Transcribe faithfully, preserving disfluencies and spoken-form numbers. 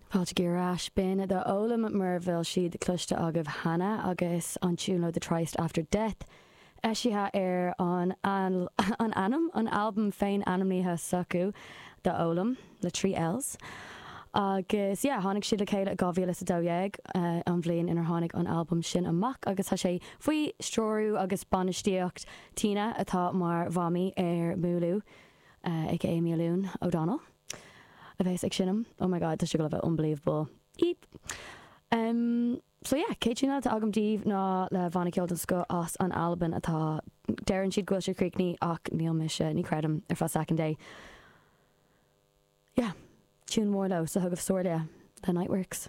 Fáilte ar ais b'in The Ollam mura bhfuil siad cloiste agaibh cheana agus an tune The Tryst After Death. Eisithe ar an an ainm an album féin ainmnithe s'acu The Ollam le trí Ls. Agus yeah, tháinig siad le chéile dhá mhíle a dó dhéag uh, an bhliain inar tháinig an album sin amach agus tá sé faoi stiúradh agus bainistíocht Tina atá mar mhamaí ar Múlú uh, ag Amy O'Donnell. A bheas ag seinm oh my god tá sé go bheith unbelievable. Eep. Um, so yeah, chéad tune atá agam daoibh ná le banna ceoil den scoth as an Albain atá deireann siad go bhfuil sé críochnaithe ach níl mise ní chreidim ar feadh second day. Yeah, tune mór leo so thug Sorlia the Nightworks.